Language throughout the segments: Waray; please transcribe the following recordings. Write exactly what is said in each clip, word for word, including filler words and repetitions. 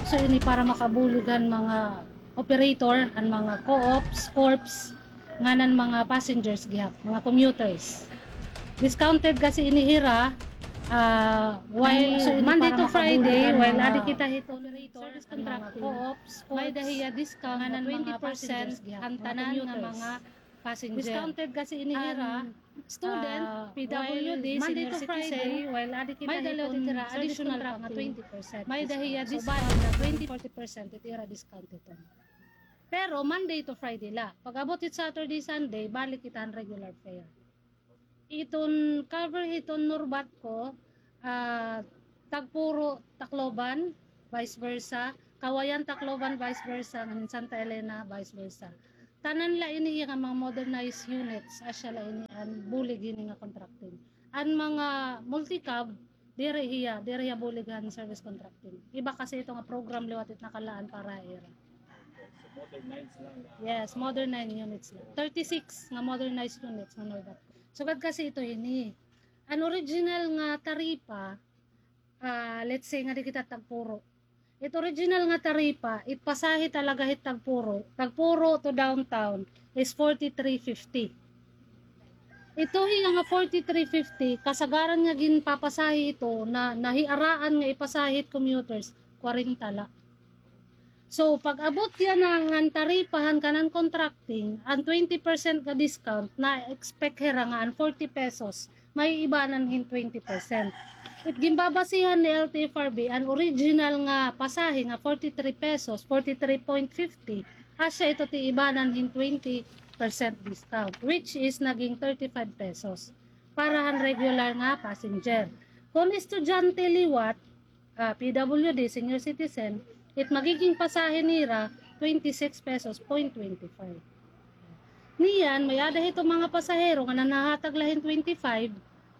So, ini para makabulig han mga operator, han mga co-ops, corps, ngan han mga passengers gihap, mga commuters. Discounted kasi ini hira, ah, while Monday to Friday, while adi kita hiton service contracting, may-ada hiya discount nga twenty percent han tanan nga mga passenger. Discounted kasi ini hira, student, ah, P W D, senior citizen, may-ada liwat hira additional pa nga twenty percent. May-ada hiya discount nga twenty, forty percent it ira discount hiton. Pero Monday to Friday la. Pag-abot hit Saturday, Sunday, balik kita han regular fare. Iton cover hiton Norbatco, ah, Tagpuro, Tacloban, vice versa. Cauayan, Tacloban, vice versa. Ngan Santa Elena, vice versa. Tanan la ini hiya nga mga modernized units, asya la ini an bulig hini nga contracting. An mga multicab, diri hiya, diri hiya bulig han service contracting. Iba kasi ito nga program liwat it nakalaan para ha ira. So, modernized lang na. Yes, modernized units lang. Thirty-six nga modernized units nga Norbatco. Sugad kasi ito ini. An original nga taripa, ah, let's say nga di kita Tagpuro. It original nga taripa, it pasahe talaga hit Tagpuro, Tagpuro to downtown is forty-three fifty. Ito hiya nga forty-three fifty, kasagaran nga ginpapasahe ito na nahiaraan nga ipasahe hit commuters, kwarenta la. So, pag-abot yana ngan taripa han kanan contracting, an twenty percent nga discount, na-expect hira nga an forty pesos, maiibanan hin twenty percent. It ginbabasihan ni L T F R B, an original nga pasahe nga forty-three pesos, forty-three point fifty, asya ito it iibanan hin twenty percent discount, which is naging thirty-five pesos para han regular nga passenger. Kon estudyante liwat, ah, P W D, senior citizen, it magiging pasahe nira, twenty-six pesos point twenty-five. Niyan, may-ada hito mga pasahero nga nanhahatag la hin twenty-five,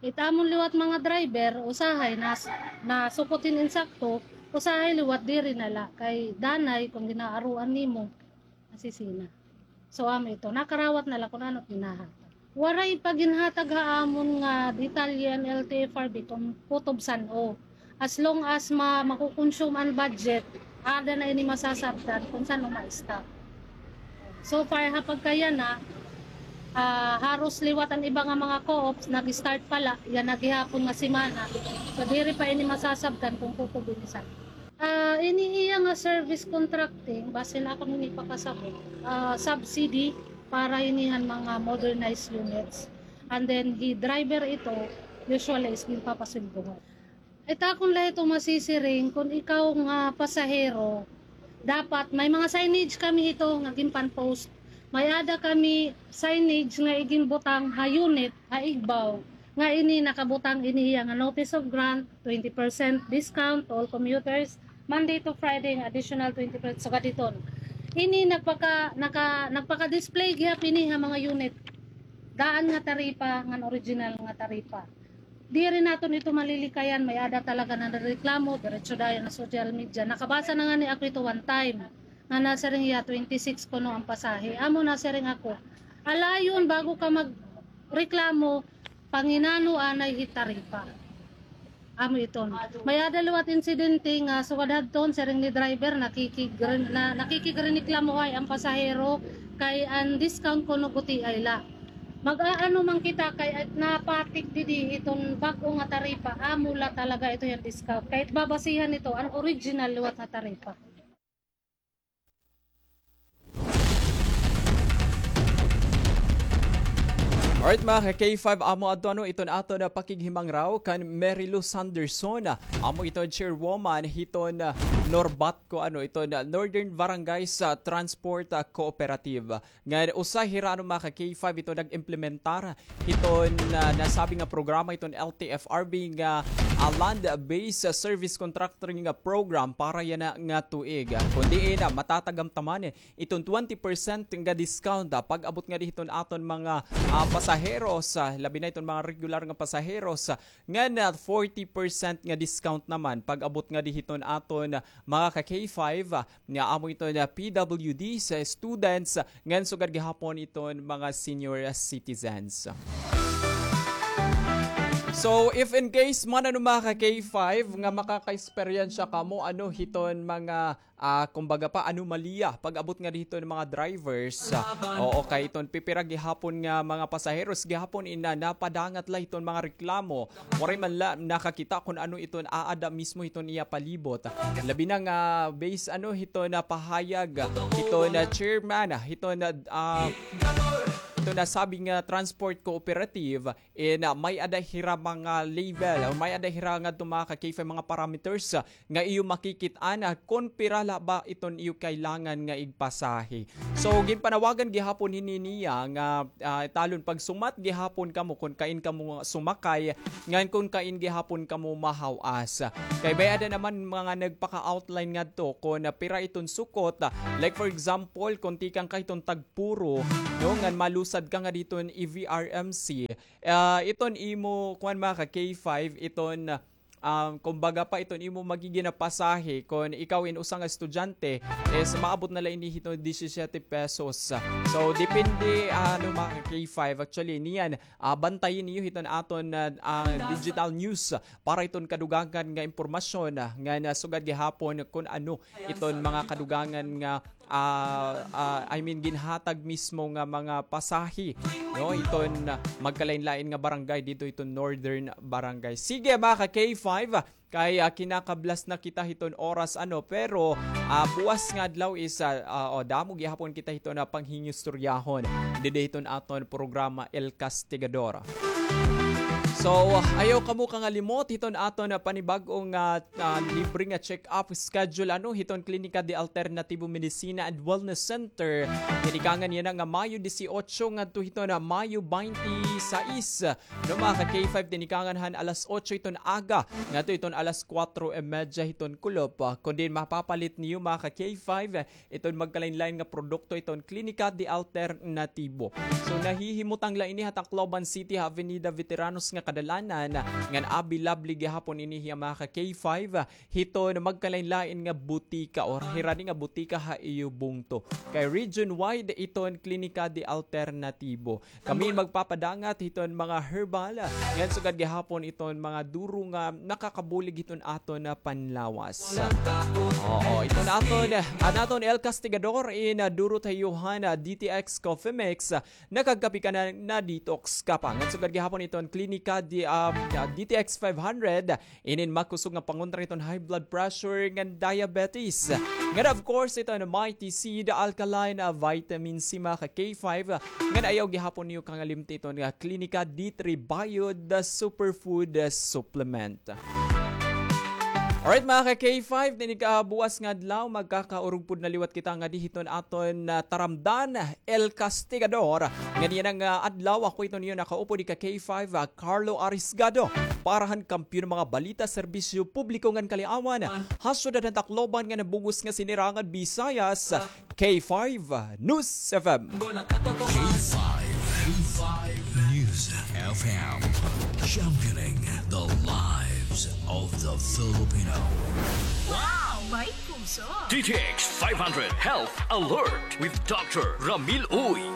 it amon liwat mga driver, usahay nas-, nasukot hin insakto, usahay liwat diri na la, kay danay kon ginaaruan nimo, nasisina. So, amo ito, nakarawat na la kon ano it ginhahatag. Waray pa ginhatag ha amon nga detalye an L T F R B kon kutob san-o. As long as ma-, makukonsume an budget, ada na ini masasabtan kon san-o ma-stop. So far, ha pagkayana, ah, haros liwat an iba nga mga co-ops, nag-start pa la, yana gihapon nga semana. So, diri pa ini masasabtan kon kutob ini san-o. Ah, ini hiya nga service contracting, basin akon ini pakasabot, ah, subsidy para ini han mga modernized units. And then, hi driver ito, usually is ginpapasweldohan. It akon la ito masisiring, kon ikaw nga pasahero, dapat may mga signage kami hito nga ginpan-post. May-ada kami signage nga iginbutang ha unit, ha igbaw, nga ini nakabutang ini hiya nga notice of grant, twenty percent discount to all commuters, Monday to Friday, nga additional twenty percent sugad hiton. Ini nagpaka-, naka-, nagpaka-display gihap ini ha mga unit. Daan nga taripa, ngan original nga taripa. Diri naton ito malilikayan, may-ada talaga nanrereklamo, diretso dayon ha social media. Nakabasa na ngani ako ito one time, nga nasiring hiya twenty-six kuno an pasahe. Amo nasiring ako, alayon, bago ka magreklamo, panginano anay hi taripa. Amo iton. May-ada liwat insidente nga sugad hadton, siring ni driver, nakikigren-, na, nakikigreneklamohay an pasahero kay an discount kuno gutiay la. Mag-aano man kita kay at napatik didi iton bag-o nga taripa, amo la talaga ito hiya an discount. Kay babasihan ito an original liwat nga taripa. Alright, mga ka-K five, amo adto ano iton aton, ah, pakighimangraw kan Mary Lou Sanderson. Amo iton chairwoman hiton, ah, Norbatco, ano, iton, ah, Northern Barangays, ah, Transport, ah, Cooperative. Ngan usa hira, ano, mga ka-K five, ito nag-implementar hiton, ah, nasabi nga programa hiton L T F R B nga, ah, land-based, ah, service contracting, ah, program para yana nga tuig. Ah, kon diin, ah, matatagamtaman iton twenty percent nga discount, ah, pag-abot ngadi hiton aton mga, ah, pasaheros, ah, labi na iton mga regular nga pasaheros, ah, ngan, ah, forty percent nga discount naman pag-abot ngadi hiton aton, ah, mga ka-K five, ah, nga amo iton, ah, P W Ds, students, ngan sugad gihapon iton mga senior citizens. So, if in case man, ano, mga ka-K five, nga makaka-eksperyensya kamo, ano, hiton mga, ah, kumbaga pa, anomalya, pag-abot nga dito ng mga drivers, ah, oo, kay iton pipira gihapon nga mga pasaheros gihapon ina napadangat la hiton mga reklamo, waray man la nakakita kung ano iton aada mismo hiton iya palibot. Labi na nga, based, ano, hiton pahayag hiton chairman hiton, ah, hiton nasabing, ah, transport cooperative, in, ah, may-ada hira mga level, o may-ada hira ngadto, mga ka-K five, mga parameters, ah, nga iyo makikit-an, ah, kon pira la ba iton iyo kailangan nga igpasahe. So, ginpanawagan gihapon hini niya nga, ah, talon pagsumat gihapon kamo kon kain kamo sumakay, ngan kon kain gihapon kamo mahaw-as. Kay may-ada naman mga nagpaka-outline ngadto kon, ah, pira iton sukot. Ah, like for example, kon tikang ka hiton Tagpuro, no, ngan malusad ka nga diton E V R M C, ah, iton imo, kuan, mga ka-K five, iton, um, kumbaga pa, iton imo magigin na pasahe kon ikaw in usa nga estudyante is maabot na la ini hiton disisiyete pesos. So, depende, ano, mga ka-K five. Actually, niyan, ah, bantayin niyo hiton aton, ah, ah, digital news para iton kadugangan nga impormasyon, ah, nga nasugad gihapon kon ano iton mga kadugangan nga, ah, ah, I mean, ginhatag mismo nga mga pasahe, no, iton, ah, magkalain-lain nga barangay dito iton Northern Barangay. Sige, mga ka-K five, ah, kay, ah, kinakablas na kita hiton oras, ano, pero, ah, buwas nga adlaw is, ah, ah, o, damo gihapon kita hiton na panghingistoryahon didi hiton aton programa El Castigador. So, ayaw kamo kangalimot hiton aton na panibag-o nga, ah, libre nga check-up schedule, ano, hiton Klinika de Alternativo Medicina and Wellness Center. Tinikangan yana nga Mayo disiotso ngadto hiton Mayo baynte sais. No, mga ka-K five, tinikangan han alas otso hiton aga ngadto hiton alas kwatro y medya hiton kulop. Ah, kon diin mapapalit niyo, mga ka-K five, iton magkalain-lain nga produkto iton Klinika de Alternativo. So, nahihimutang la ini ha Tacloban City, ha Avenida Veteranos nga kadalanan, ngan available gihapon ini hiya, mga ka-K five, hiton magkalain-lain nga butika or hirani nga butika ha iyo bungto. Kay region-wide iton Klinika de Alternativo. Kami magpapadangat hiton mga herbal, ngan sugad gihapon iton mga duro nga nakakabulig hiton aton na panlawas. Oo, iton aton, an aton El Castigador in, ah, duro ta iyo han, ah, D T X Coffee Mix, ah, nakagkape ka na, na-detox ka pa. Ngan sugad gihapon iton Klinika di, ah, ah, D T X five hundred, inin makusog nga pangontra hiton high blood pressure ngan diabetes. Ngan of course, iton Mighty Seed Alkaline, ah, Vitamin C, mga ka-K five. Ngan ayaw gihapon niyo kangalimti iton nga Klinika D three Bio, the superfood, ah, supplement. Alright, mga ka-K five, dinhi ka buwas nga adlaw, magkakaurog pud na liwat kita ngadi hiton aton, ah, taramdan, El Castigador. Ngan yana nga, ah, adlaw, ako iton iyo nakaupo, di ka K five, ah, Carlo Arisgado, para han kampiyon nga mga balita, serbisyo publiko ngan kaliawan ha syudad han Tacloban ngan ha bug-os nga sinirangan Visayas, K five News F M. K five, K five News F M, championing the lives of the Filipino. Wow! May puso! D T X five hundred Health Alert with Doctor Ramil Uy.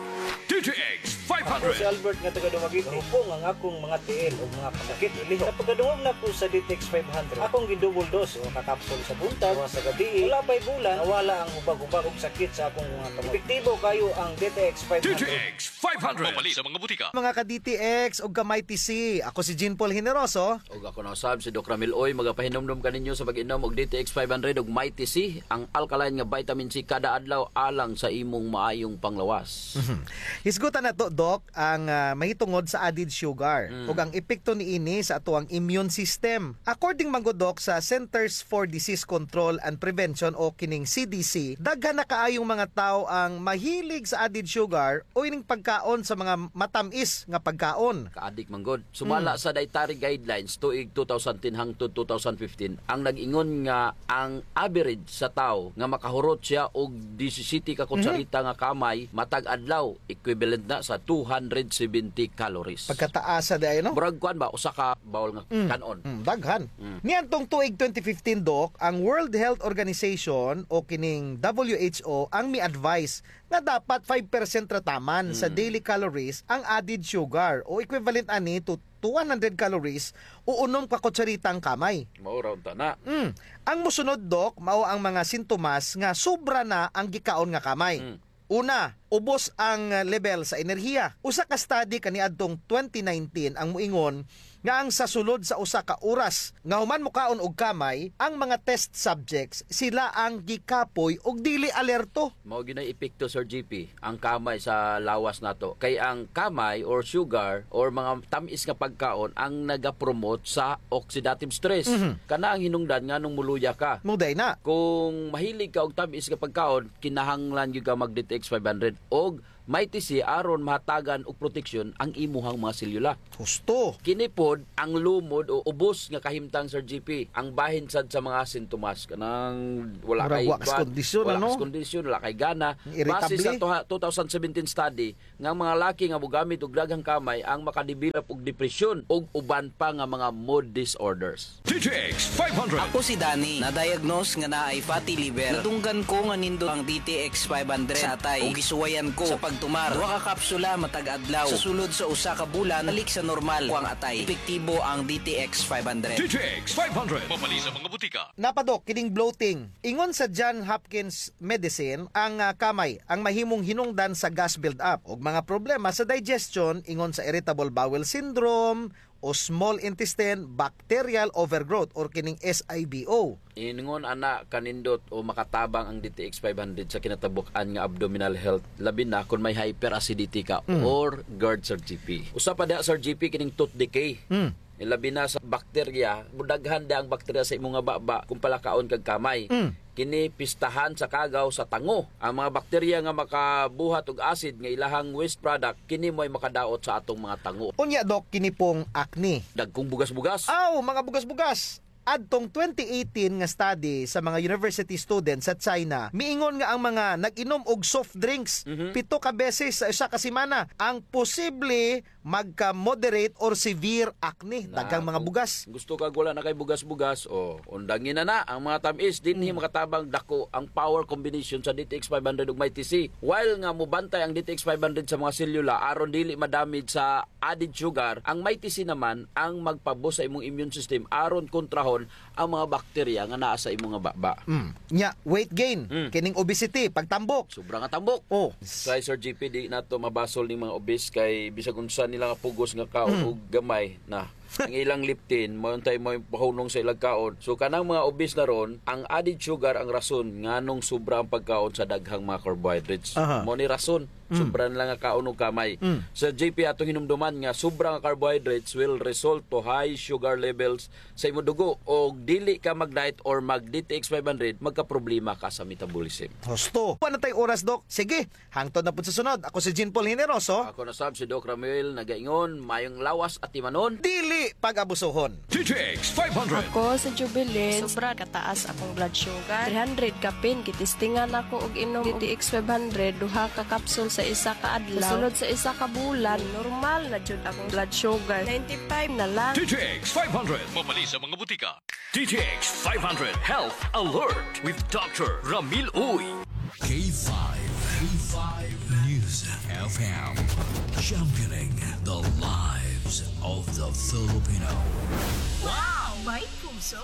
D T X five hundred. Ako si Albert nga taga Dumaguete. Hupong ang akong mga tiil o mga kasakit, ilihok. Sa pagkadungog nako sa D T X five hundred, akong gi-double dose, usa ka kapsul sa buntag, usa sa gabii. Wala pa'y bulan, nawala ang hubag-hubag ug sakit sa akong mga kamot. Epektibo kaayo ang D T X five hundred. D T X five hundred. Mapalit sa mga butika. Mga ka-D T X ug ka-Mighty C, ako si Jean Paul Generoso. Ug ako na usab si Doc Ramil Uy, magapahinumdom kaninyo sa pag-inom og D T X five hundred ug Mighty C, ang alkaline nga vitamin C kada adlaw alang sa imong maayong panglawas. Mhm. Hisgutan nato, Doc, ang, ah, mahitungod sa added sugar ug ang epekto niini sa atoang immune system. According man gud, Doc, sa Centers for Disease Control and Prevention o kining C D C, daghan na kaayong mga tawo ang mahilig sa added sugar o ining pagkaon sa mga matam-is nga pagkaon. Kaadik man gud. Sumala sa dietary guidelines tuig two thousand ten hangtod two thousand fifteen, ang nag-ingon nga ang average sa tawo nga makahurot siya og disisiyete ka kutsarita nga kamay matag adlaw, equivalent na sa two hundred seventy calories. Pagkataasa diay, no? Murag kuan ba, usa ka bowl nga kan-on. Mm, daghan. Mm. Niadtong tuig twenty fifteen, Doc, ang World Health Organization o kining W H O ang mi-advise nga dapat five percent ra taman sa daily calories ang added sugar o equivalent ani to to one hundred calories o unom ka kutsaritang kamay. Mao ra unta na. Mm. Ang mosunod, Doc, mao ang mga sintomas nga sobra na ang gikaon nga kamay. Mm. Una, ubos ang level sa enerhiya. Usa ka study kaniadtong twenty nineteen ang moingon nga ang sa sulod sa usa ka oras nga human mokaon og kamay, ang mga test subjects, sila ang gikapoy ug dili alerto. Mao gyud nay epekto, Sir G P, ang kamay sa lawas nato. Kay ang kamay or sugar or mga tam-is nga pagkaon ang nagapromote sa oxidative stress. Mhm. Kana ang hinungdan nganong moluya ka. Mao diay na. Kung mahilig ka og tam-is nga pagkaon, kinahanglan gyud ka mag D T X five hundred og Mighty C aron mahatagan og proteksyon ang imuhang mga selyula. Husto. Kini pod ang lumod o ubos nga kahimtang, Sir G P, ang bahin sad sa mga sintomas. Kanang wala kay kondisyon, wala kay gana. Base sa two thousand seventeen study, nga ang mga laki nga mogamit og daghang kamay ang makadevelop og depresyon ug uban pa nga mga mood disorders. D T X five hundred. Ako si Danny, na-diagnose nga naay fatty liver. Nadunggan ko nga nindot ang D T X five hundred sa atay. Ug gisuwayan ko sa pagtumar. Duha ka kapsula matag adlaw. Sa sulod sa usa ka bulan, balik sa normal ko ang atay. Epektibo ang D T X five hundred. D T X five hundred. Mapalit sa mga butika. Napadok kining bloating. Ingon sa John Hopkins Medicine, ang, ah, kamay ang mahimong hinungdan sa gas build-up ug mga problema sa digestion, ingon sa irritable bowel syndrome o small intestine bacterial overgrowth or kining S I B O. Ingon ana kanindot o makatabang ang D T X five hundred sa kinatabuk-an nga abdominal health, labi na kon may hyperacidity ka or GERD, Sir G P. Usa pa diha, Sir G P, kining tooth decay. Labi na sa bakterya, mudaghan diha ang bakterya sa imo nga baba kung palakaon kag kamay. Kini pistahan sa kagaw sa tango. Ang mga bakterya nga makabuhat og acid nga ilahang waste product, kini mo'y makadaot sa atong mga tango. Unya, Doc, kini pong acne. Dagkong bugas-bugas. Aw, mga bugas-bugas. Adtong twenty eighteen nga study sa mga university students sa China, miingon nga ang mga nag-inom og soft drinks pito ka beses sa usa ka semana ang posible magka-moderate or severe acne. Daghang mga bugas. Gusto kag wala na kay bugas-bugas, o, undangi na na ang mga tam-is. Dinhi makatabang dako ang power combination sa D T X five hundred ug Mighty C. While nga mobantay ang D T X five hundred sa mga selyula aron dili ma-damage sa added sugar, ang Mighty C naman ang magpa-boost sa imong immune system aron kontrahon ang mga bakterya nga naa sa imo nga baba. Mm. Nya, weight gain, kining obesity, pagtambok. Sobra nga tambok. Oh. Sa Sir G P, di nato mabasol ning mga obese kay bisag unsa nila nga pugos nga kaon og gamay na. Ang ilang leptin, mao untay mao'y pahunong sa ilang kaon. So, kanang mga obese na ron, ang added sugar ang rason nganong sobra ang pagkaon sa daghang mga carbohydrates. Aha. Mao ni rason. Sobra nila nga kaon og kamay. Sir G P, atong hinumduman nga sobra nga carbohydrates will result to high sugar levels sa imo dugo. Og dili ka mag-diet or mag-D T X five hundred, magkaproblema ka sa metabolism. Husto. Wala na tay oras, Doc. Sige, hangtod na pud sa sunod. Ako si Jean Paul Generoso. Ako na sab si Doc Ramil, nagaingon, mayong lawas atimanon. Dili pag-abusohon. D T X five hundred. Ako si Jubilin. Sobra kataas akong blood sugar. Three hundred kapin, gitistingan ako og inom D T X five hundred, duha ka kapsul sa isa ka adlaw. Sa sulod sa isa ka bulan, normal na jud akong blood sugar. Ninety-five na lang. D T X five hundred. Mapalit sa mga butika. D T X five hundred Health Alert with Doctor Ramil Uy. K five, K five News F M, championing the lives of the Filipino. Wow! May puso!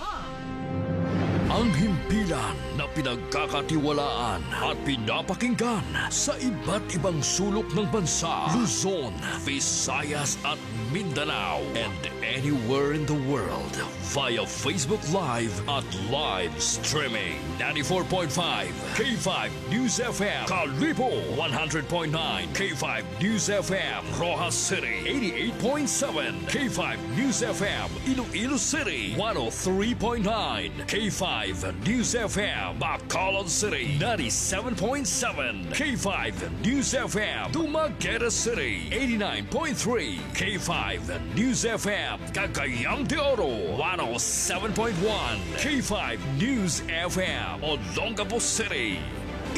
Ang himpilan na pinagkakatiwalaan at pinapakinggan sa iba't ibang sulok ng bansa, Luzon, Visayas at Mindanao, and anywhere in the world via Facebook Live at live streaming. Ninety-four point five K five News F M, Kalibo, one hundred point nine K five News F M, Roxas City, eighty-eight point seven K five News F M, Iloilo City, one oh three point nine K five News F M, Bacolod City, ninety-seven point seven K five News F M, Dumaguete City, eighty-nine point three K five News F M, Cagayan de Oro, one oh seven point one K five News F M, Olongapo City,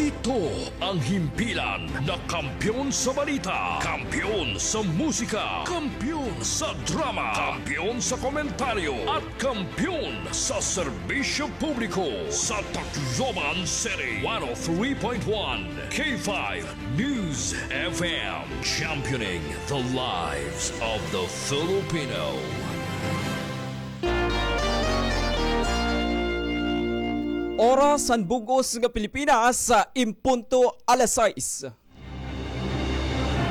Ito ang himpilan na kampiyon sa balita, kampiyon sa musika, kampiyon sa drama, kampiyon sa komentaryo, at kampiyon sa serbisyo publiko. Sa Tacloban City, one oh three point one K five News F M, championing the lives of the Filipino. Oras han bug-os nga Pilipinas, in punto alas sais.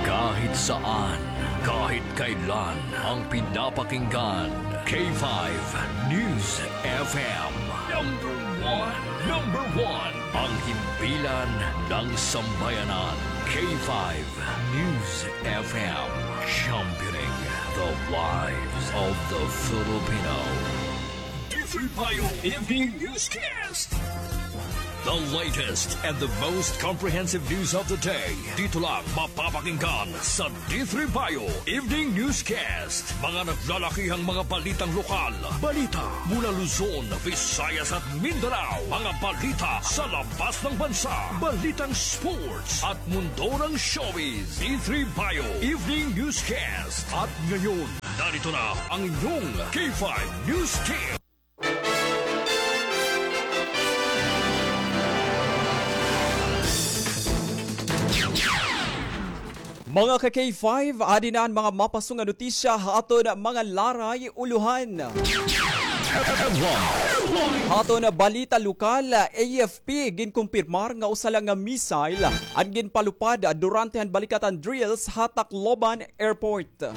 Kahit saan, kahit kailan, ang pinapakinggan, K five News F M. Number one, number one, ang himpilan ng sambayanan, K five News F M, championing the lives of the Filipino. D three Bio Evening Newscast. The latest and the most comprehensive news of the day. Dito lang mapapakinggan sa D three Bio Evening Newscast. Mga naglalakihang mga balitang lokal. Balita mula Luzon, Visayas at Mindanao. Mga balita sa labas ng bansa. Balitang sports at mundo ng showbiz. D three Bio Evening Newscast. At ngayon, narito na ang inyong K five News Team. Mga ka-K five, adi na an mga mapasong nga notisya ha aton mga laray ulohan. Ha aton balita lokal, A F P ginkumpirmar nga usa la nga missile an ginpalupad durante han balikatan drills ha Tacloban Airport.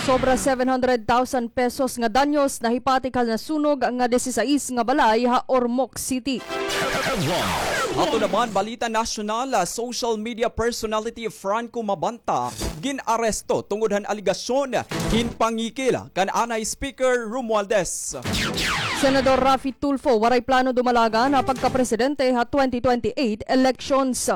Sobra seven hundred thousand pesos nga danyos nahipati kan nasunog nga disisais nga balay ha Ormoc City. Ato naman balita nasyonal, social media personality Franco Mabanta gin-aresto tungod han alegasyon hin pangikil kan anay Speaker Romualdez. Senador Raffy Tulfo waray plano dumalagan ha pagkapresidente ha twenty twenty-eight elections.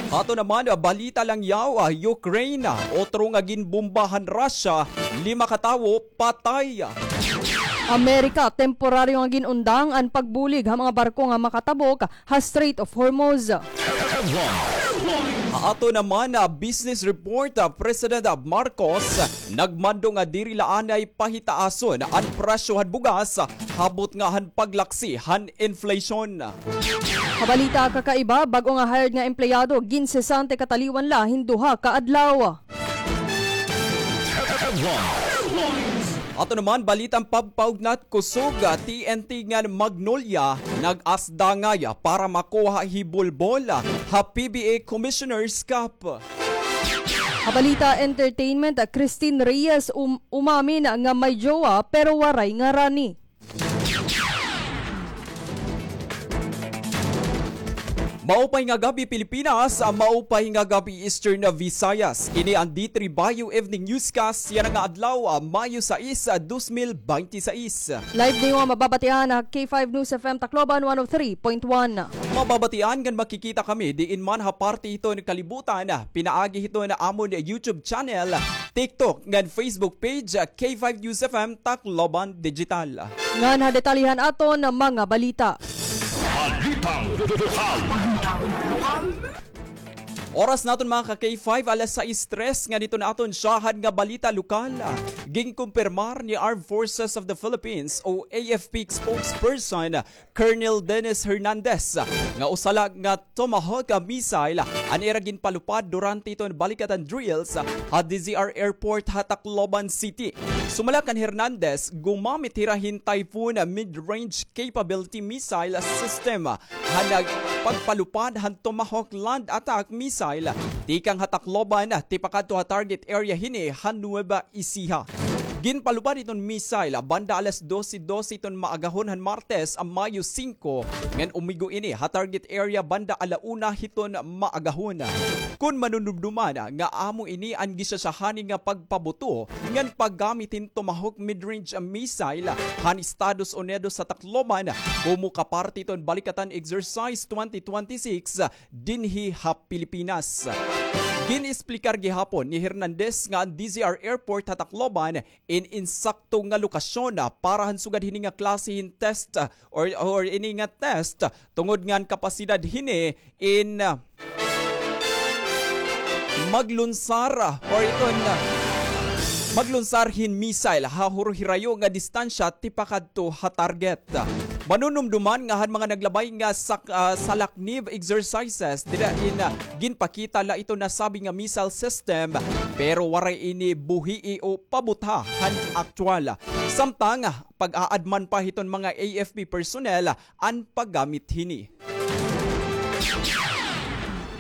Ato naman balita langyaw, Ukraine, otro nga ginbomba han Russia, lima ka tawo patay. Amerika, temporaryo nga gin-undang an pagbulig ha mga barko nga makatabok ha Strait of Hormuz. Ha ato naman, ah, business report, ah, President, ah, Marcos nagmando nga diri la anay pahitaason an presyo han bugas, ah, habot nga han paglaksi han inflation. Ha balita kakaiba, bag-o nga hired nga empleyado, ginsesante kataliwan la hin duha ka adlaw. Ato naman, balitang pagpaugnat kusog, ah, T N T ngan Magnolia nag-asdangay para makuha hi Bolbol ha P B A Commissioner's Cup. Ha balita entertainment, Christine Reyes um-, umamin nga may jowa pero waray ngarani. Maupay nga gab-i, Pilipinas. Maupay nga gab-i, Eastern Visayas. Ini an D three Bio Evening Newscast yana nga adlaw, Mayo sais, dos mil binte sais. Live niyo nga mababatian ha K five News F M Tacloban one oh three point one. Mababatian ngan makikita kami diin man ha parte hiton kalibutan, pinaagi hiton amon YouTube channel, TikTok ngan Facebook page, K five News F M Tacloban Digital. Ngan ha detalye han aton mga balita. Balitang lokal. Oras naton, mga ka-K five, alas sais tres, ngan ito na aton syahan nga balita lokal. Ginkumpirmar ni Armed Forces of the Philippines o A F P spokesperson Colonel Dennis Hernandez nga usa la nga Tomahawk missile an ira ginpalupad durante iton balikatan drills ha D Z R Airport ha Tacloban City. Sumala kan Hernandez, gumamit hira hin Typhoon mid-range capability missile system han pagpalupad han Tomahawk land attack missile tikang ha Tacloban tipakadto ha target area hini ha Nueva Ecija. Ginpalupad iton missile banda alas dose dose iton maagahon han Martes, Mayo singko, ngan umigo ini ha target area banda ala una hiton maagahon. Kon manunumduman nga amo ini an gisyasyahani nga pagpabuto ngan paggamit hin Tomahawk mid-range missile han Estados Unidos sa Tacloban komo ka parte iton Balikatan Exercise twenty twenty-six dinhi ha Pilipinas. Gin-esplikar gihapon ni Hernandez nga an D Z R Airport ha Tacloban in insakto nga lokasyon, ah, para han sugad hini nga klase hin test, ah, or, or ini nga test, ah, tungod ngan kapasidad hini in, ah, maglunsar, ah, or iton, ah, maglunsar hin missile ha huro-hirayo nga distansya tipakadto ha target. Manunumduman nga han mga naglabay nga sak-, ah, salaknib exercises, dida in, ah, ginpakita la iton nasabi nga missile system, pero waray ini buhii o pabutha han aktuwal. Samtang, ah, pag-aadman pa hiton mga A F P personnel an paggamit hini.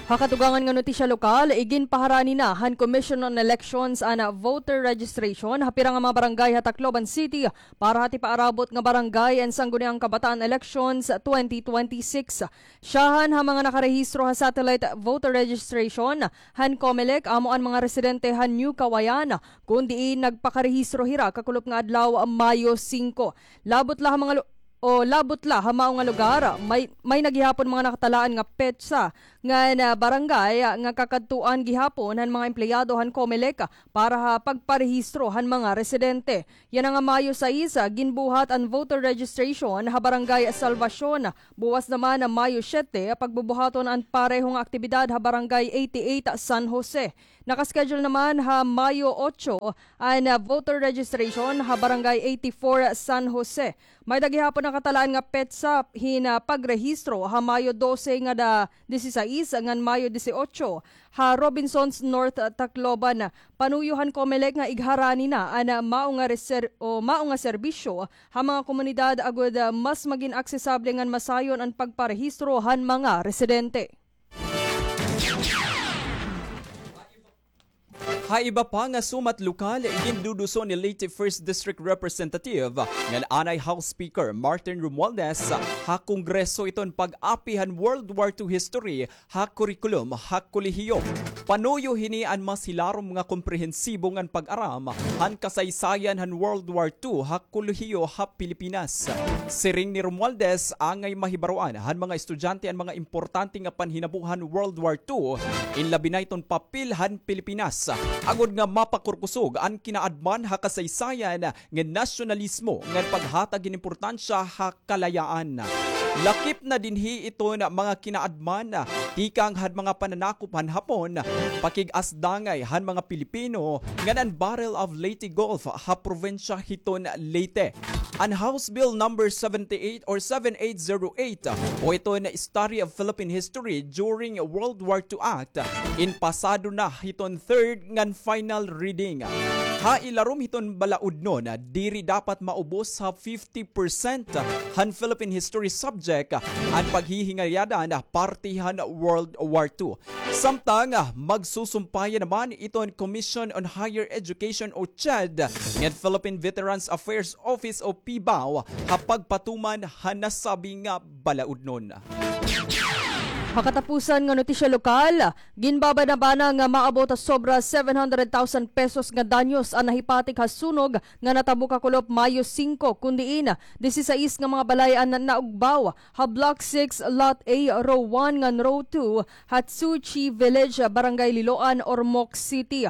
Ha katugangan nga notisya lokal, iginpaharani na han Commission on Elections an voter registration ha pira nga mga barangay ha Tacloban City para ha tipaarabot nga barangay and sangguniang kabataan elections twenty twenty-six. Syahan ha mga nakarehistro ha satellite voter registration han Comelec amo an mga residente han New Kawayan, kun diin nagpakarehistro hira kakulop nga adlaw, Mayo singko. Labot la ha mga lu-, o labot la ha mao nga lugar, may, may na gihapon mga nakatalaan nga petsa ngan, ah, barangay, ah, nga kakadtuan gihapon han mga empleyado han Comelec para ha pagparehistro han mga residente. Yana nga Mayo sais, ah, ginbuhat an voter registration ha Barangay Salvacion. Buwas naman, ah, Mayo siyete, pagbubuhaton an pareho nga aktibidad ha Barangay eighty-eight San Jose. Naka-schedule naman ha Mayo otso an, ah, voter registration ha Barangay eighty-four San Jose. May-ada gihapon nakatalaan nga petsa hin, ah, pagrehistro ha Mayo dose ngada disisais ngan Mayo disiotso ha Robinsons North, ah, Tacloban. Panuyo han Comelec nga igharani na an, ah, mao nga reser-, o mao nga serbisyo ha mga komunidad agod, ah, mas magin aksesable ngan masayon an pagparehistro han mga residente. Ha iba pa nga sumat lokal, ginduduson ni Leyte First District Representative ngan anay House Speaker Martin Romualdez ha Kongreso iton pag-api han World War Two history ha kurikulum ha kolehiyo. Panuyo hini an mas hilarom nga komprehensibo ngan pag-aram han kasaysayan han World War Two ha kolehiyo ha Pilipinas. Siring ni Romualdez, angay mahibaroan han mga estudyante an mga importante nga panhinabo han World War Two, in labi na iton papel han Pilipinas, agod nga mapakurkusog an kinaadman ha kasaysayan nga nasyonalismo ngan paghatag hin importansya ha kalayaan. Lakip na dinhi iton mga kinaadman tikang han mga pananakop han Hapon, pakig-asdangay han mga Pilipino ngan an Battle of Leyte Gulf ha probinsya hiton Leyte. An House Bill number seventy-eight or seven eight zero eight o iton Study of Philippine History During World War Two Act in pasado na hiton third ngan final reading. Ha ilarom hiton balaudnon, diri dapat maubos ha fifty percent han Philippine History subject an paghihingayadan parte han World War Two. Samtang, magsusumpaya naman iton Commission on Higher Education o CHED ngan Philippine Veterans Affairs Office o PVAW ha pagpatuman han nasabi nga balaudnon. Ha katapusan nga notisya lokal, ginbabanabana nga maabot ha sobra seven hundred thousand pesos nga danyos an nahipatik ha sunog nga natabo kakulop Mayo singko, kun diin disisais nga mga balay an naugbaw ha Block six, Lot A, Row one ngan Row two, ha Tsuchi Village, Barangay Liloan, Ormoc City.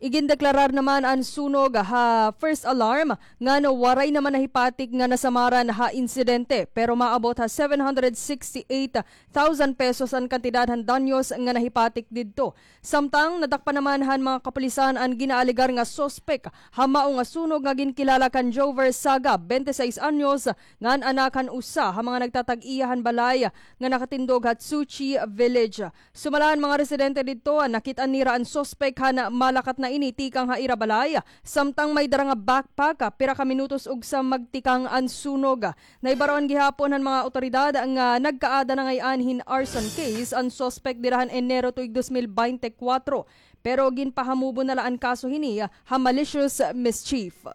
Igindeklarar naman an sunog ha first alarm ngan waray naman nahipatik nga nasamaran ha insidente, pero maabot ha seven hundred sixty-eight thousand pesos an kantidad han danyos nga nahipatik didto. Samtang, nadakpan naman han mga kapulisan an ginaalegar nga suspek ha mao nga sunog nga ginkilala kan Jover Saga, bente sais anyos, ngan anak han usa ha mga nagtatag-iya han balay nga nakatindog ha Tsuchi Village. Sumala an mga residente didto, nakit-an nira an suspek han malakat na ini tikang ha ira balay, samtang may dara nga backpack, pira ka minutos ugsa magtikang an sunog. Nahibaroan gihapon han mga awtoridad nga nagkaada na ngay-an hin arson case an suspek dida han Enero tuig dos mil baynte kwatro, pero ginpahamubo na la an kaso hini ha malicious mischief.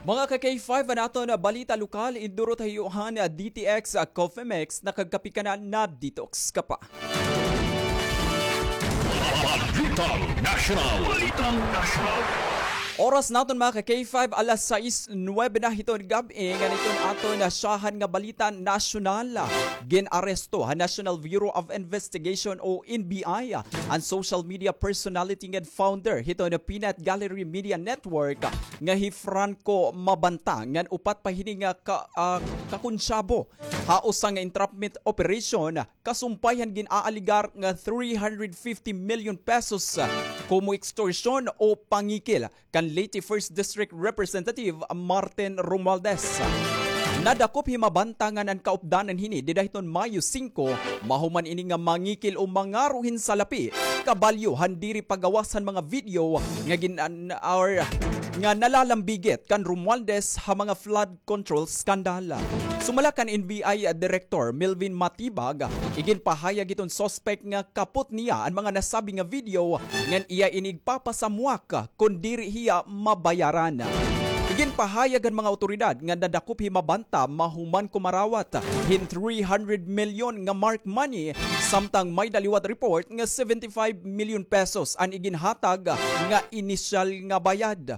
Mga ka-K five, an aton balita lokal, idurot ha iyo han D T X Coffee Mix, nakagkape ka na, na-detox ka pa. Balitang Nasyonal. Balitang Nasyonal. Oras naton, mga ka-K five, alas sais nuwebe na hiton gab-i. Ngan iton aton nasyahan nga balita nasyonal. Gin-aresto han National Bureau of Investigation o N B I an social media personality ngan founder hiton Peanut Gallery Media Network nga hi Franco Mabanta ngan upat pa hini nga ka-, ah, kakonsyabo ha usa nga entrapment operation kasumpay han gin-aaligar nga three hundred fifty million pesos, ah, komo extortion o pangikil kan Leyte First District Representative Martin Romualdez. Nadakop hi Mabanta ngan an kaupdanan hini dida hiton Mayo singko, mahuman ini nga mangikil o mangaro hin salapi, kabalyo han diri pagawas han mga video nga gin-, an-, or, nga nalalambigit kan Romualdez ha mga flood control scandal. Sumala kan N B I Director Melvin Matibag, iginpahayag hiton suspect nga kapot niya an mga nasabi nga video ngan iya ini igpapasamwak kon diri hiya mabayaran. Iginpahayag han mga awtoridad nga nadakop hi Mabanta mahuman kumarawat hin three hundred milyon nga marked money, samtang may-da liwat report nga seventy-five million pesos an iginhatag nga inisyal nga bayad.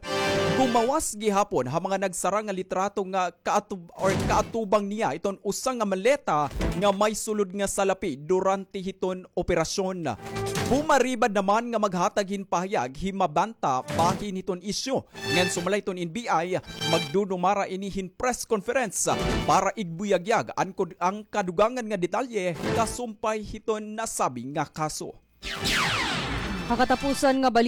Gumawas gihapon ha mga nagsara nga litrato nga kaatub-, or kaatubang niya iton usa nga maleta nga may sulod nga salapi durante hiton operasyon. Bumaribad naman nga maghatag hin pahayag hi Mabanta bahin hiton isyu. Ngan sumala hiton N B I, magdudumara ini hin press conference para igbuyagyag an kud-, an kadugangan nga detalye kasumpay hiton nasabi nga kaso. Ha katapusan nga balita,